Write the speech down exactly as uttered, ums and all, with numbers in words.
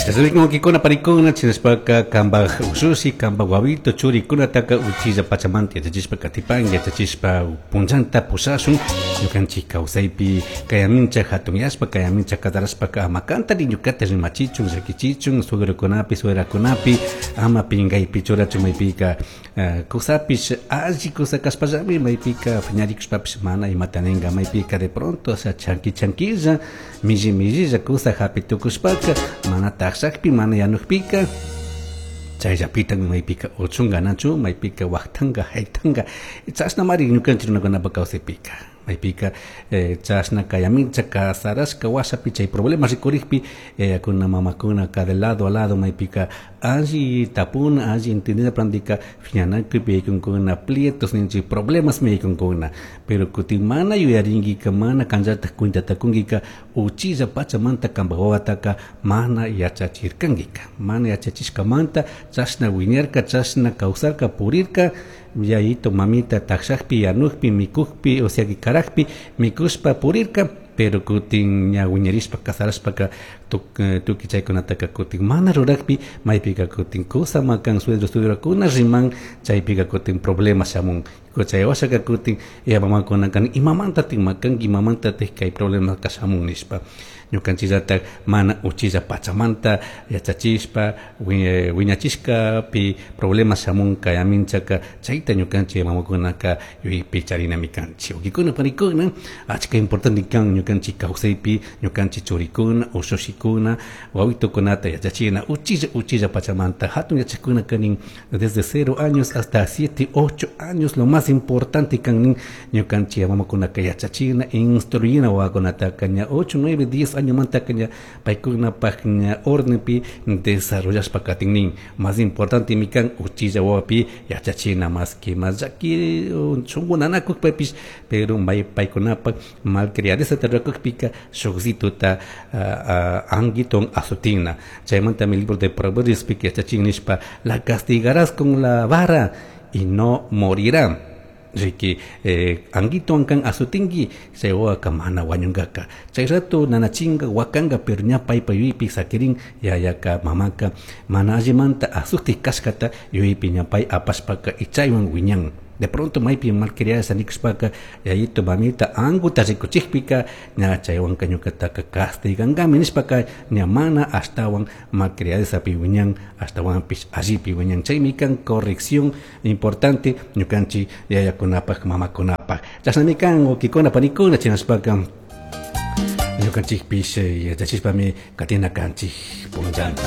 Chashnami wawkikuna panikuna, chinashpaka kambaj ushushi, kambaj wawito churikunataka uchilla pachamanta yachachishpa katipanki, yachachishpa punllanta pushashun ñukanchik kawsaypi kayamincha hatunyashpa, kayamincha kasarashpaka ama kantari ñukata rimachichun, llakichichun, suegrokunapi, suegrakunapi ama pinkaypi churachun. Maypika kusapish alli kusa kashpallami maypika piñarikushpapish mana imata ninka. Maypika de pronto, o sea, chanqui chanquilla, milli millilla kusa hapi tukushpaka mana takshakpi, mana yanukpika, chayllapitan maypika uchunga nachu, maypika waqtanka, haytanka. Chashnamari ñukanchik runakunapa kawsaypika maypika chashna kayamincha kasarashka washapi chay problema rikurikpi, kuna mamakuna de lado a lado maypika alli tapuna, alli entendida prandika piñanakuypi yaykunkuna, plietos ninchik, problemas mi yaykunkuna. Pero kutin mana yuyarinkika, mana kanllatak cuentata kunkika, uchilla pachamanta kanpak wawataka mana yachachirkankika. Mana yachachishkamanta chashna wiñarka, chashna kawsarka, purirka, yayito mamita takshakpi, yanukpi, mikukpi, o sea que karakpi mikushpa purirka. Pero kutin ña wiñarishpa kasarashpaka tukuy chaykunataka kutin mana rurakpi, maypika kutin kusa makan, suegro suegrakuna riman, chaypika kutin problema shamun. Chay washaka kutin ya mamakunaka imamantatik makanki, imamantatik kay problemaka shamun nishpa. Ñukanchikllatak mana uchilla pachamanta yachachishpa wiñachishkapi problema shamun kayaminchaka, chayta ñukanchik mamakunaka yuyaypi charinami kanchik. Wawkikuna panikuna, achka importante kan ñukanchik kawsaypi ñukanchik churikuna, ushushikuna, wawitukunata yachachina uchilla uchilla pachamanta. Hatun yachakuna kanin desde cero años hasta siete, ocho años, lo más importante kan nin ñukanchik mamakunaka yachachina, instruyina wawakunataka ña ocho, nueve, diez añomantaka ña paykunapaj ña ordenpi desarrollashpa katin nin. Más importante mi kan uchilla wawapi yachachina, más que más llaki shunku nanakukpapish, pero may paykunapaj malcriadeza rurakukpika shukzituta anguiton azutina. Chaymantami libro de Proverbios yachachin nishpa: "La castigarás con la vara y no morirá". Riki eh, anguito kan azutinki, chay wawaka mana wañunkaka. Chay rato nanachinga, wakanga, pero ña paypa yuyaypi sakirin yayaka mamaka mana allimanta azuti kashkata yuyaypi ña pay apashpaka y chaywan wiñan. De pronto maypi malcriada nikushpaka yayito mamita anguta rikuchikpika ña chaywanka ñukataka castigankami nishpaka ña mana ashtawan malcriadezapi wiñan, ashtawanpish allipi wiñan. Chaymi kan corrección importante ñukanchik yayakunapak, mamakunapak. Chashnami kan, wawkikuna panikuna, chinashpaka ñukanchikpish yachachishpami katina kanchik punllanta.